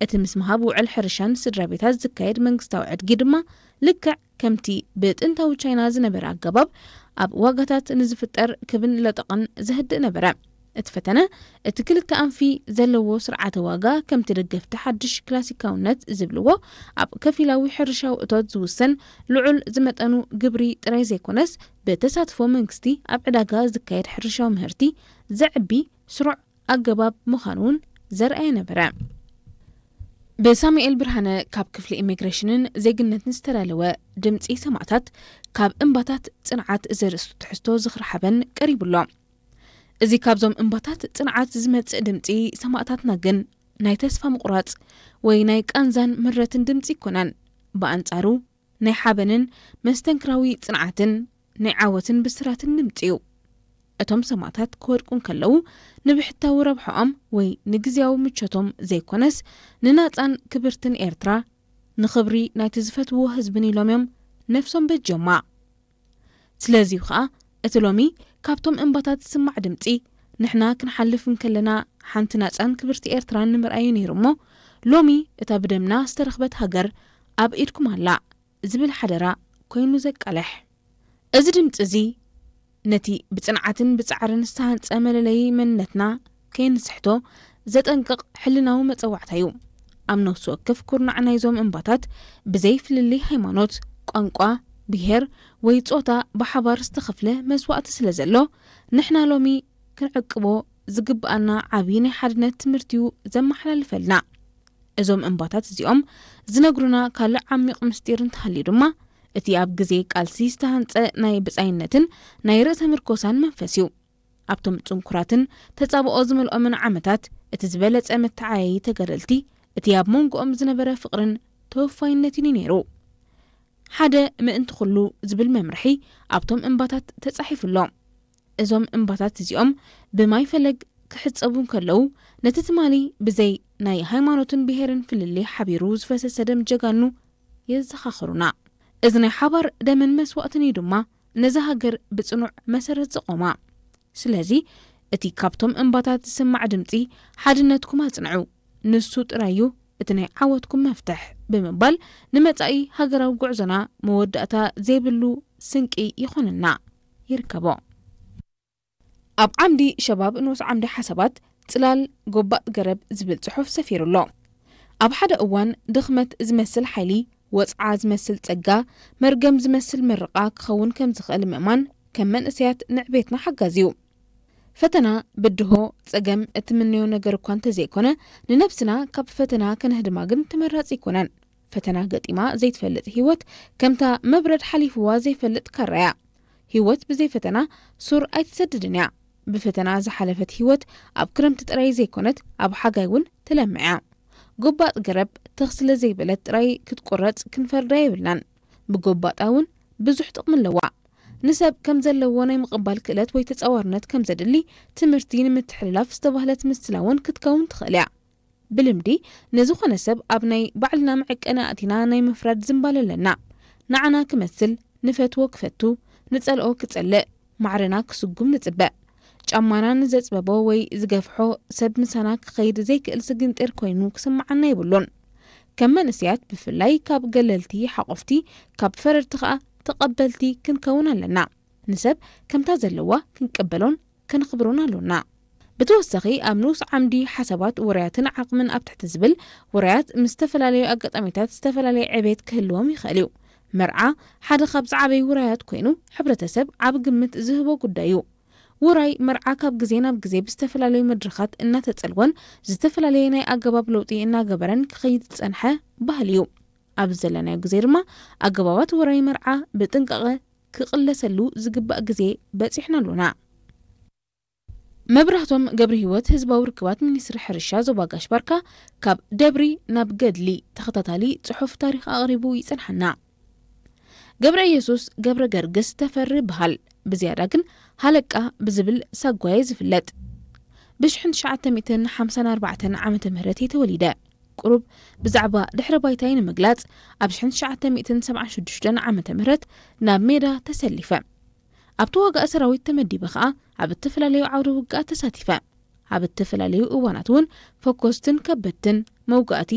እቲ ምስ ምሃብ ውዕል ሕርሻን ስድራ ቤታት ዝካየድ መንግስታዊ ዕድጊ ድማ ልክዕ ከምቲ ብጥንታዊ ቻይና ዝነበረ ኣገባብ ኣብ ዋጋታት ንዝፍጠር ክብን ለጠቕን ዘህድእ ነበረ። እቲ ፈተነ እቲ ክልተ ኣንፊ ዘለዎ ስርዓተ ዋጋ ከምቲ ደገፍቲ ሓድሽ ክላሲካውነት ዝብልዎ ኣብ ከፊላዊ ሕርሻዊ እቶት ዝውሰን ልዑል ዝመጠኑ ግብሪ ጥራይ ዘይኮነስ ብተሳትፎ መንግስቲ ኣብ ዕዳጋ ዝካየድ ሕርሻዊ ምህርቲ ዘዕቢ ስሩዕ ኣገባብ ምዃኑ እውን ዘርኣየ ነበረ። ብሳሙኤል ብርሃነ ካብ ክፍሊ ኢሚግሬሽንን ዜግነትን ዝተዳለወ ድምፂ ሰማእታት ካብ እምባታት ፅንዓት ዘርእስቱ ትሕዝቶ ዝኽሪ ሓበን ቀሪቡሎ። እዚ ካብዞም እምባታት ፅንዓት ዝመፅእ ድምፂ ሰማእታትና ግን ናይ ተስፋ ምቑራፅ ወይ ናይ ቃንዛን ምረትን ድምፂ ይኮነን። ብኣንፃሩ ናይ ሓበንን መስተንክራዊ ጽንዓትን ናይ ዓወትን ብስራትን ድምጺ እዩ። እቶም ሰማእታት ክወድቁ እንከለዉ ንብሕታዊ ረብሓኦም ወይ ንግዝያዊ ምቾቶም ዘይኮነስ ንናጻን ክብርትን ኤርትራ ንኽብሪ ናይቲ ዝፈትውዎ ህዝብን ኢሎም እዮም ነፍሶም በጅዮማ። ስለዚ እዩ ኸኣ እቲ ሎሚ ካብቶም እምባታት ዝስማዕ ድምጺ ንሕና ክንሓልፍ እንከለና ሓንቲ ናጻን ክብርቲ ኤርትራን ንምርኣዩ ነይሩ እሞ ሎሚ እታ ብደምና ዝተረኽበት ሃገር ኣብ ኢድኩም ኣላ ዝብል ሓደራ ኮይኑ ዘቃልሕ። እዚ ድምጺ እዚ ነቲ ብጽንዓትን ብጻዕርን ዝተሃንጸ መለለዪ መንነትና ከይንስሕቶ ዘጠንቅቕ ሕልናዊ መጸዋዕታ እዩ። ኣብ ነፍሲ ወከፍ ኩርናዕ ናይዞም እምባታት ብዘይ ፍልልይ ሃይማኖት፣ ቋንቋ፣ ብሄር ወይ ጾታ ብሓባር ዝተኸፍለ መስዋእቲ ስለ ዘሎ ንሕና ሎሚ ክንዕቅቦ ዝግብኣና ዓቢ ናይ ሓድነት ትምህርቲ እዩ ዘመሓላልፈልና። እዞም እምባታት እዚኦም ዝነግሩና ካልእ ዓሚቕ ምስጢር እንተሃልዩ ድማ እቲ ኣብ ግዜ ቃልሲ ዝተሃንጸ ናይ ብጻይነትን ናይ ርእሰ ምርኮሳን መንፈስ እዩ። ኣብቶም ጽንኩራትን ተጻብኦ ዝመልኦምን ዓመታት እቲ ዝበለጸ መተዓያዪ ተጋደልቲ እቲ ኣብ መንጎኦም ዝነበረ ፍቕርን ተወፋይነትን እዩ ነይሩ። ሓደ ምእንቲ ኩሉ ዝብል መምርሒ ኣብቶም እምባታት ተጻሒፉ ኣሎ። እዞም እምባታት እዚኦም ብማይ ፈለግ ክሕጸቡ እንከለዉ ነቲ ትማሊ ብዘይ ናይ ሃይማኖትን ብሄርን ፍልልይ ሓቢሩ ዝፈሰሰ ደም ጀጋኑ የዘኻኽሩና። እዚ ናይ ሓባር ደምን መስዋእትን እዩ ድማ ነዛ ሃገር ብጽኑዕ መሰረት ዘቖማ። ስለዚ እቲ ካብቶም እምባታት ዝስማዕ ድምጺ ሓድነትኩም ኣጽንዑ፣ ንሱ ጥራይ እዩ እቲ ናይ ዓወትኩም መፍትሕ ብምባል ንመጻኢ ሃገራዊ ጉዕዞና መወዳእታ ዘይብሉ ስንቂ ይኾነና ይርከቦ። ኣብ ዓምዲ ሸባብ ንኡስ ዓምዲ ሓሳባት ጽላል ጎባጥ ገረብ ዝብል ጽሑፍ ሰፊሩ ኣሎ። ኣብ ሓደ እዋን ድኽመት ዝመስል ሓይሊ፣ ወጽዓ ዝመስል ጸጋ፣ መርገም ዝመስል ምርቓ ክኸውን ከም ዝኽእል ምእማን ከም መንእሰያት ንዕቤትና ሓጋዚ እዩ። ፈተና፣ ብድሆ፣ ጸገም እትምነዮ ነገር እኳ እንተዘይኮነ ንነብስና ካብ ፈተና ከነህድማ ግን ተመራጺ ኣይኮነን። ፈተና ገጢማ ዘይትፈልጥ ህይወት ከምታ መብረድ ሓሊፍዋ ዘይፈልጥ ካራ እያ። ህይወት ብዘይ ፈተና ሱር ኣይትሰድድን እያ። ብፈተና ዝሓለፈት ህይወት ኣብ ክረምቲ ጥራይ ዘይኮነት ኣብ ሓጋይ እውን ትለምዕ እያ። ጎባጥ ገረብ ትኽ ስለ ዘይበለት ጥራይ ክትቁረጽ ክንፈርዳ የብልናን። ብጎባጣ እውን ብዙሕ ጥቕሚ ኣለዋ። ንሰብ ከም ዘለዎ ናይ ምቕባል ክእለት ወይ ተጻዋርነት ከም ዘድሊ ትምህርቲ ንምትሕልላፍ ዝተባህለት ምስላ እውን ክትከውን ትኽእል እያ። ብልምዲ ንዝኾነ ሰብ ኣብ ናይ ባዕልና መዐቀኒ ኣእቲና ናይ ምፍራድ ዝንባለ ኣለና። ንዓና ክመስል ንፈትዎ ክፈቱ፣ ንጸልኦ ክጸልእ፣ ማዕረና ክስጉም ንጽበ። ጫማና ንዘጽበቦ ወይ ዝገፍሖ ሰብ ምሳና ክኸይድ ዘይክእል ስግንጢር ኮይኑ ክስምዓና የብሉን። ከም መንእሰያት ብፍላይ ካብ ገለልቲ ሓቆፍቲ፣ ካብ ፈረድቲ ከኣ ተቐበልቲ ክንከውን ኣለና። ንሰብ ከምታ ዘለዋ ክንቀበሎን ከነኽብሮን ኣሎና። ብተወሳኺ ኣብ ንኡስ ዓምዲ ሓሳባት ውራያትን ዓቕምን ኣብ ትሕቲ ዝብል ውራያት ምስ ዝተፈላለዩ ኣጋጣሚታት ዝተፈላለየ ዕቤት ክህልዎም ይኽእል እዩ። መርዓ ሓደ ካብ ዝዓበዩ ውራያት ኮይኑ ሕብረተሰብ ዓቢ ግምት ዝህቦ ጉዳይ እዩ። ውራይ መርዓ ካብ ግዜ ናብ ግዜ ብዝተፈላለዩ መድረኻት እናተጸልወን ዝተፈላለየ ናይ ኣገባብ ለውጢ እናገበረን ክኸይድ ዝጸንሐ ባህሊ እዩ። ኣብዚ ዘለናዮ ግዜ ድማ ኣገባባት ውራይ መርዓ ብጥንቃቐ ክቕለሰሉ ዝግባእ ግዜ በጺሕና ኣሎና። መብራህቶም ገብረ ህይወት ህዝባዊ ርክባት ሚኒስትሪ ሕርሻ ዞባ ጋሽ ባርካ ካብ ደብሪ ናብ ገድሊ ተኸታታሊ ጽሑፍ ታሪኽ ኣቕሪቡ ይጸንሓና። ገብረ ኢየሱስ ገብረ ገርግስ ተፈሪ ይበሃል። ብዝያዳ ግን ሃለቃ ብዝብል ሳጓየ ዝፍለጥ። ብ1954 ዓመተ ምህረት እየ ተወሊደ። ቁሩብ ብዛዕባ ድሕረ ባይታይ ንምግላጽ ኣብ 1976 ዓመተ ምህረት ናብ ሜዳ ተሰሊፈ። ኣብ ተዋጋኢ ሰራዊት ተመዲበ ኸኣ ኣብ እተፈላለዩ ዓውደ ውግኣት ተሳቲፈ። ኣብ እተፈላለዩ እዋናት እውን ፈኮስትን ከበድትን መውጋእቲ